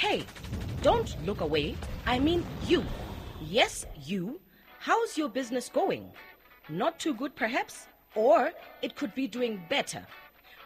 Hey, don't look away. I mean you. Yes, you. How's your business going? Not too good, perhaps? Or it could be doing better.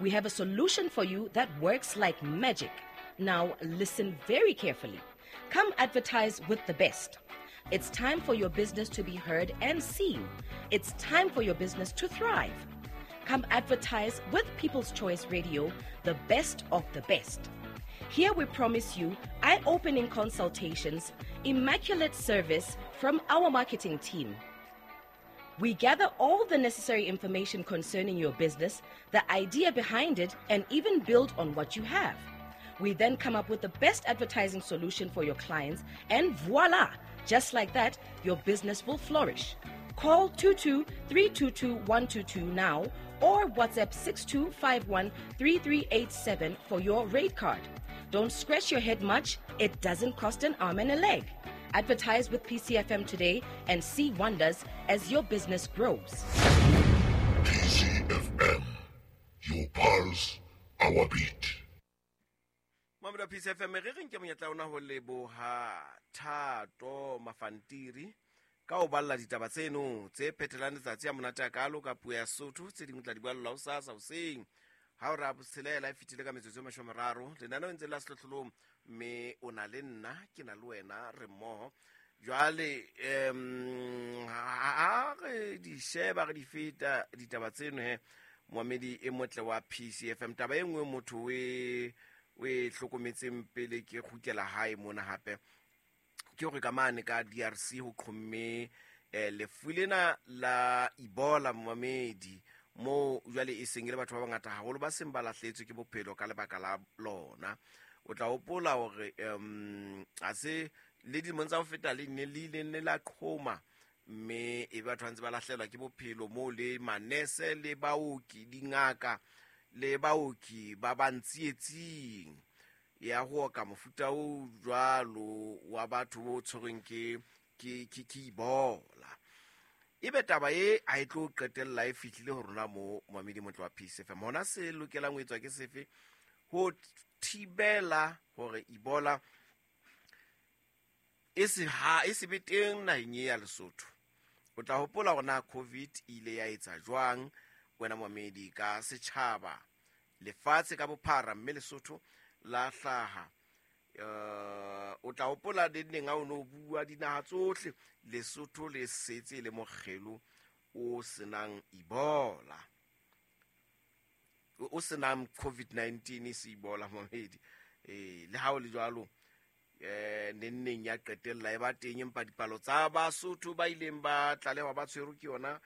We have a solution for you that works like magic. Now, listen very carefully. Come advertise with the best. It's time for your business to be heard and seen. It's time for your business to thrive. Come advertise with People's Choice Radio, the best of the best. Here we promise you eye opening consultations, immaculate service from our marketing team. We gather all the necessary information concerning your business, the idea behind it, and even build on what you have. We then come up with the best advertising solution for your clients, and voila! Just like that, your business will flourish. Call 22 322 122 now or WhatsApp 6251 3387 for your rate card. Don't scratch your head much, it doesn't cost an arm and a leg. Advertise with PCFM today and see wonders as your business grows. PCFM, your pulse, our beat. Mamedi wa PCFM, re re nke monyetla ona ho leboha Thato Mafantiri ka ho balla ditaba tseno tse phethelang letsatsi a monate a kalo ka puo ya Sotho. Tse dingwe tla di balla hosasa hoseng ha o ra botshelela e fetile ka metsotso e 30. Lenaneo ntse la sehlohlolong, mme o na le nna, ke na le wena, re mmoho. Jwale ha re di sheba, re di feta ditaba tseno he, moamedi e motle wa PCFM. Taba e nngwe motho o e hlokometseng pele ke kgutlela hae mona hape ke hore ka mane ka DRC ho qhomme lefu lena la Ebola, moamedi, mo jwale e seng e le batho ba bangata haholo ba seng ba lahletswe ke bophelo ka lebaka la lona. O tla hopola hore ha se le dilemong tsa ho feta le ne le ile ne la qhoma, mme e batho ba ntse ba lahlelwa ke bophelo moo le manese le baoki, dingaka le baoki ba ba ntsietsing ya ho oka mofuta o jwalo wa batho bo tshwerweng ke Ebola. Ebe taba e a e tlo qetella e fihlile ho rona mo moamedi motle wa PCFM. Hona se lokelang ho etswa ke sefe ho thibela hore Ebola e se ha e se be teng naheng e ya Lesotho? O tla hopola hore na COVID e ile ya etsa jwang wena moamedi ka setjhaba lefatshe ka bophara, mme Lesotho la hlaha. O tla hopola le neng ha o no bua dinaha tsohle, Lesotho le setse le mokgelo o senang Ebola, o senang COVID-19, se Ebola moamedi. Le ha o le jwalo, neng ya qetella e ba teng, empa dipalo tsa Basotho ba ileng ba tlalehwa ba tshwerwe ke yona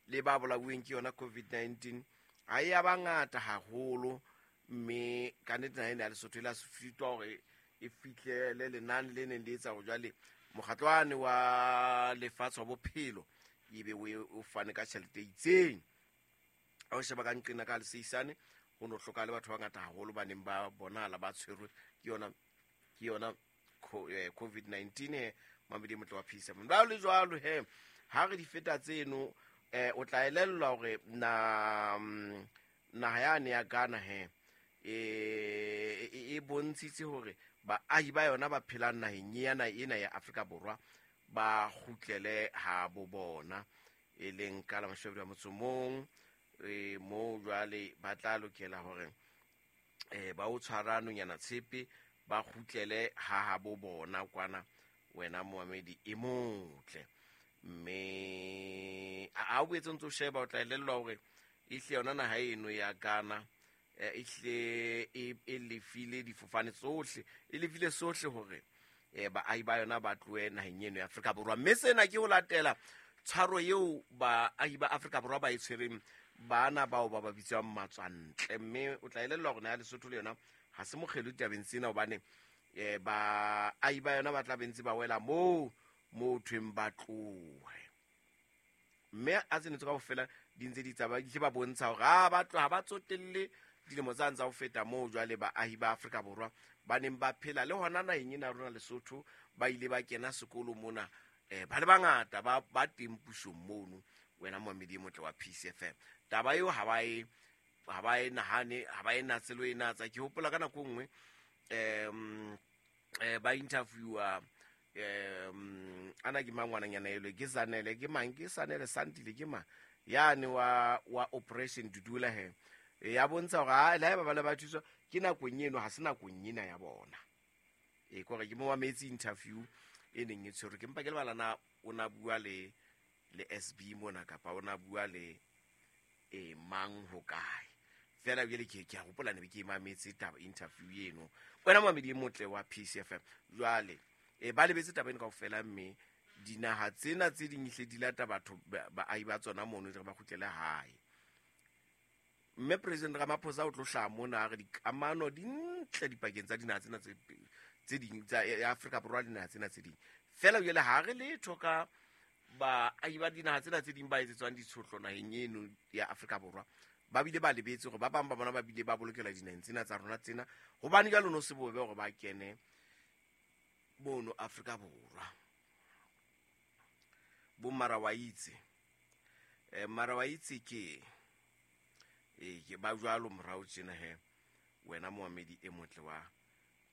le ba bolauweng ke yona COVID-19 ha e ya bangata haholo, mme ka nnete naheng ya Lesotho e la sitwa hore e fihlele lenane le neng le etsa hore jwale mokgatlo wane wa lefatshe wa bophelo ebe o fane ka tjhelete e itseng. Ha o sheba ka nqena ka leseisane, ho no hloka le batho ba bangata haholo ba neng ba bonahala ba tshwerwe ke yona COVID-19 he, mamedi motle wa PCFM. Ba le jwalo he, ha re di feta tseno, o tla elellwa hore na naha yane ya Ghana he e bontshitse hore baahi ba yona ba phelang naheng ena ya Afrika Borwa ba kgutlele ha bo bona, e leng ka la 21 moo jwale ba tla lokela hore ba o tshwara nonyana tshepe ba kgutlele ha bo bona kwana, wena moamedi e motle. Mme a o boetse ntse o sheba, o tla elellwa hore ehle yona naha eno ya Ghana ehle e lefile difofane tsohle, e lefile sohle hore baahi ba yona ba tlohe naheng eno ya Afrika Borwa. Mme sena ke ho latela tshwaro eo baahi ba Afrika Borwa ba e tshwereng bana bao ba ba bitswang matswantle. Mme o tla elellwa hore naha ya Lesotho le yona ha se mokgelo ditabeng tsena, hobane baahi ba yona ba tla be ntse ba wela moo thweng ba tlohe. Mme a tsene tse kaofela di ntse di tsamaya, di ba bontsha hore ha ba tloha, ba tsotelle dilemo tsa ntsa ho feta moo jwale baahi ba Afrika Borwa ba neng ba phela le hona naheng ena ya rona Lesotho, ba ile ba kena sekolo mona, ba le bangata ba teng pusong mono, wena moamedi e motle wa PCFM. Taba eo ha ba e nahane, ha ba e natse le ho e natsa. Ke hopola ka nako e nngwe Ba interviewa ana ke mang ngwananyana elwe ke Zanele, ke mang, ke Sanele Santile, ke mang yane wa Operation Dudula he. Ya bontsha hore ha le haeba ba le ba thuswa ke nakong eno, ha se nakong ena ya bona. Kore ke mo mametse interview e neng e tshwerwe ke mpa ke lebala na o na bua le SB mona kapa o na bua le mang ho kae. Fela jwale ke a hopola ne be ke mametse taba interview eno. Wena mamedi e motle wa PCFM. Jwale ba lebetse taba eno kaofela, mme dinaha tsena tse ding hle di lata batho baahi ba tsona mono di re ba kgutlele hae. Mme President Ramaphosa o tlo hlaha mona a re dikamano di ntle dipakeng tsa dinaha tsena tse ding tsa ya Afrika Borwa le dinaha tsena tse ding. Fela jwale ha re letho ka baahi ba dinaha tsena tse ding ba etsetswang ditshotlo naheng eno ya Afrika Borwa. Ba bile ba lebetse hore ba bang ba bona ba bile ba bolokelwa dinaheng tsena tsa rona tsena, hobane jwale no se bobe hore ba kene mono Afrika Borwa. Bo mara wa itse. Mara wa itse ke ke ba jwalo morao tjena he, wena moamedi e motle wa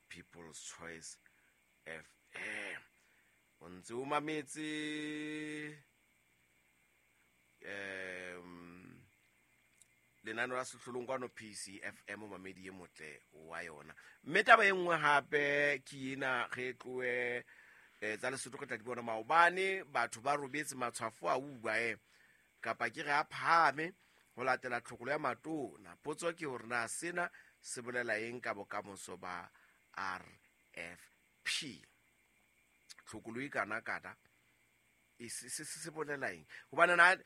People's Choice FM. O ntse o mametse lenaneo la Sehlolong kwano PCFM, mamedi e motle wa yona. Mme taba e nngwe hape ke ena, re tlohe tsa Lesotho re tla di bona maobane. Batho ba robetse matshwafo a uba kapa ke re a phahame ho latela tlhokolo ya matona. Potso ke hore na sena se bolela eng ka bokamoso ba RFP. Tlhokolo e kana kana e se bolela eng? Hobane na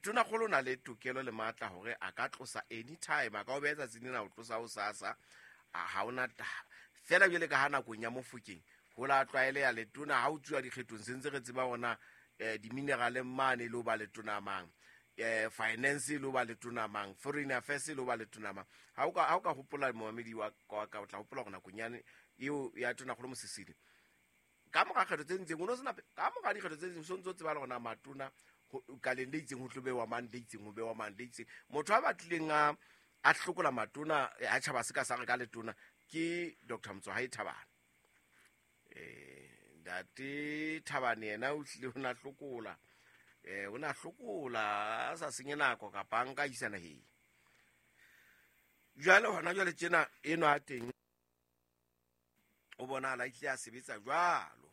tonakgolo o na le tokelo le matla hore a ka tlosa anytime, a ka o beha tsatsing lena o tlosa ho sasa, ha hona taba. Fela jwale ka ha nakong ya Mofokeng ho la tlwaeleha letona ha o tsuwa dikgethong, se ntse re tseba hona di-mineral mane le ho ba letona mang, finance le ho ba letona mang, foreign affairs le ho ba letona mang. Ha o ka hopola moamedi wa ka, o tla hopola hore nakong yane eo ya tonakgolo Mosisili, ka mora kgetho tse ntseng o no sena, ka mora dikgetho tse ding so ntso tseba le hore na matona kaleng le itseng ho tlo bewa mang, le itseng ho bewa mang, le itseng. Motho a batlileng a hlokola matona a tjhaba se ka sa re ka letona ke Dr. Motsoahae Thabane. Ntate Thabane yena o hlile o na hlokola, o na hlokola a sa senye nako kapa a nka isa naheng. Jwale hona jwale tjena eno a teng o bonahala a hlile a sebetsa jwalo.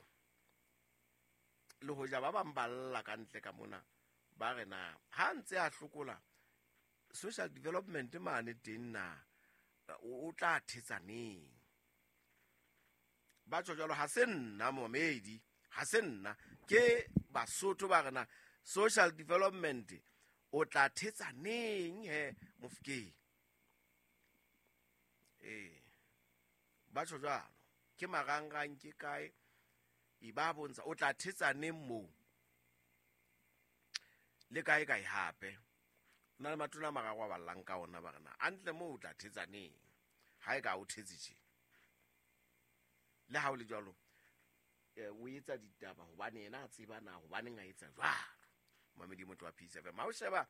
Le hoja ba bang ba lla ka ntle ka mona ba re na ha ntse a hlokola social development mane teng na o tla thetsa neng. Ba tjho jwalo, ha se nna momedi, ha se nna, ke Basotho ba re na social development o tla thetsa neng he Mofokeng. Ba tjho jwalo, ke marangrang ke kae e ba bontsha o tla thetsa neng moo le kae kae hape. Na le matona a mararo a ballang ka ona ba re na antle moo o tla thetsa neng ha e ka o thetse tje. Le ha o le jwalo, o etsa ditaba hobane yena a tseba na hobaneng a etsa jwalo. Mamedi motho wa PCFM. Ha o sheba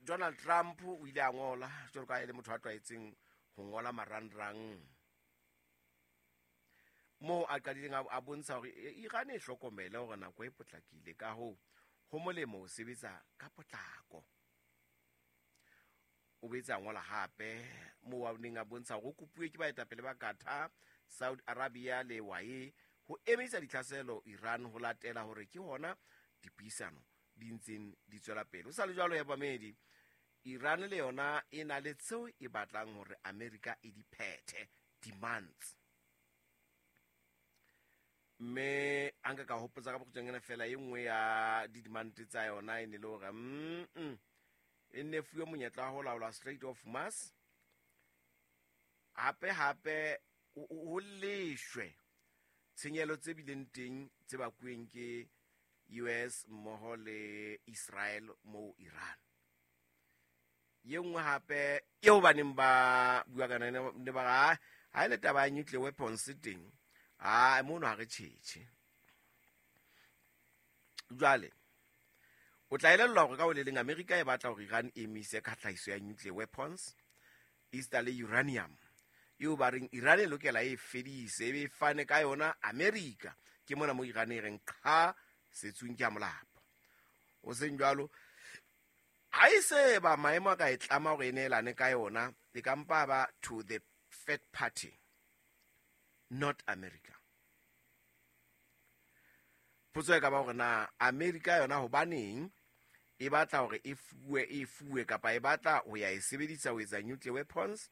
Donald Trump o ile a ngola jwalo ka e le motho a tlwaetseng ho ngola marangrang, moo a qadileng a bontsha hore Iran e hlokomele hore nako e potlakile, ka hoo ho molemo ho sebetsa ka potlako. O boetse a ngola hape moo a neng a bontsha hore o kopuwe ke baetapele ba Qatar, Saudi Arabia le UAE ho emisa ditlhaselo Iran ho latela hore ke hona dipuisano di ntseng di tswela pele. Ho sa le jwalo ya bamedi, Iran le yona e na le tseo e batlang hore Amerika e di phethe, demands. Mme a nka ka hopotsa ka bokgutshwanyane fela e nngwe ya di-demand tsa yona e ne le hore e nne fuwe monyetla wa ho laola Strait of Hormuz, hape hape ho leshwe tshenyehelo tse bileng teng tse bakuweng ke US mmoho le Israel moo Iran. Ye nngwe hape eo ba neng ba bua ka yona ne ba re, ha e le taba ya nuclear weapons teng, ha mono ha re tjhetjhe. Jwale o tla elellwa hore ka ho le leng Amerika e batla hore Iran e emise ka tlhahiso ya nuclear weapons, esita le uranium. eo ba reng Iran e lokela e fedise, e be e fane ka yona America. Ke mona mo Iran e reng qha setsung ke a molapo. O seng jwalo, ha e se ba maemo a ka e tlama hore e neelane ka yona, e ka mpa ba to the third party, not America. Potso e ka ba hore na America yona hobaneng e batla hore e fuwe kapa e batla ho ya e sebedisa ho etsa nuclear weapons,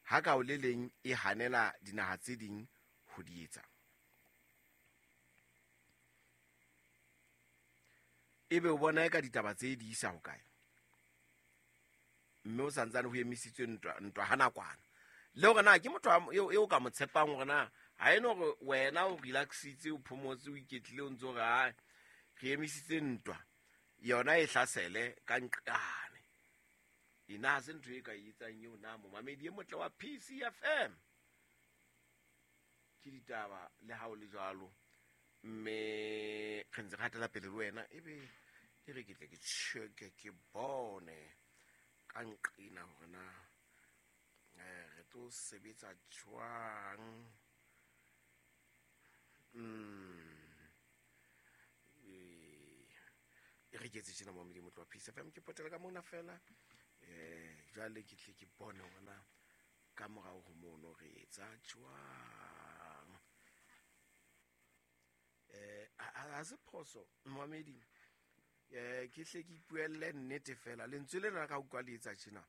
ha ka o le leng e hanela dinaha tse ding ho di etsa. Ebe o bona e ka ditaba tse di isa hokae? Mme o santsane ho emisitswe ntwa ha nakwana. Le hore na ke motho eo ka mo tshepang hore na ha eno hore wena o relaxitse, o phomotse, o iketlile, o ntse o re hai, re emisitse ntwa, yona e hlasele ka nqane. Ena ha se ntho e ka e etsang eo na momamedi e motle wa PCFM. Ke ditaba le ha o le jwalo, mme re ntse re hatela pele le wena, ebe e re ke tle ke check-e ke bone ka nqena hore na re tlo sebetsa jwang. E re ke etse tjena momamedi motle wa PCFM, ke potela ka mona fela. Jwale ke tle ke bone hore na ka morao ho mono re etsa jwang. Ha se phoso momamedi, ke hle ke ipuelle nnete fela. Lentswe lena ka utlwa le etsa tjena.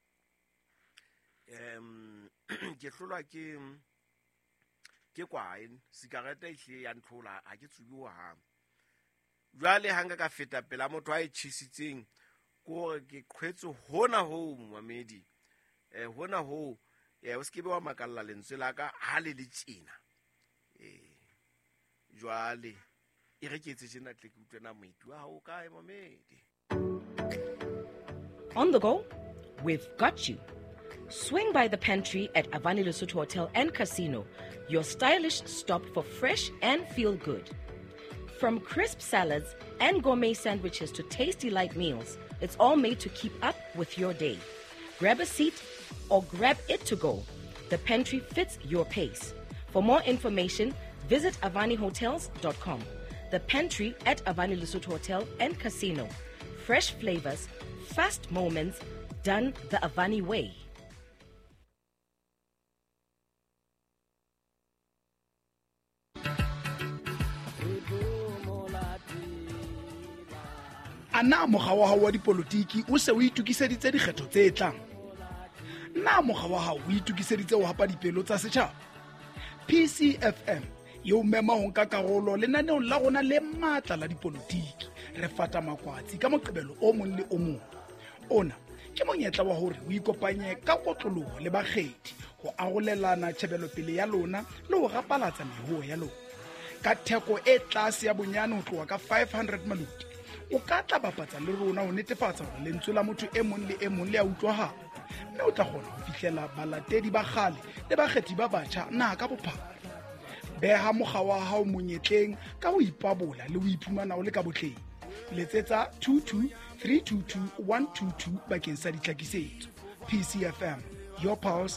Ke hlolwa ke kwae, sikarete e hlile ya ntlhola, ha ke tsube hohang. Jwale ha nka ka feta pela motho a e tjhesitseng, ke hore ke qhwetse hona hoo momamedi. Hona hoo, o se ke be wa makalla lentswe la ka ha le le tjena. Jwale e re ke etse tjena tle ke utlwe na moeti wa hao o kae momamedi. On the go, we've got you. Swing by the pantry at Avani Lesotho Hotel and Casino, your stylish stop for fresh and feel good. From crisp salads and gourmet sandwiches to tasty light meals, it's all made to keep up with your day. Grab a seat or grab it to go. The pantry fits your pace. For more information, visit avanihotels.com. The pantry at Avani Lesotho Hotel and Casino. Fresh flavors, fast moments, done the Avani way. A na mokga wa hao wa dipolotiki o se o itokiseditse dikgetho tse tlang? Na mokga wa hao o itokiseditse ho hapa dipelo tsa setjhaba? PCFM e o mema ho nka karolo lenaneong la rona le matla la dipolotiki. Re fata makwatsi ka Moqebelo o mong le o mong. Ona ke monyetla wa hore o ikopanye ka kotloloho le bakgethi ho arolelana tjhebelopele ya lona le ho rapalatsa mehoo ya lona. Ka theko e tlase ya bonyane ho tloha ka 500 maluti, o ka tla bapatsa le rona ho netefatsa hore lentswe la motho e mong le e mong le a utlwahala, mme o tla kgona ho fihlela balatedi ba kgale le bakgethi ba batjha naha ka bophara. Beha mokga wa hao monyetleng ka ho ipabola le ho iphumana o le ka botleng. Letsetsa 22 322 122 bakeng sa ditlhakisetso. PCFM, your pulse,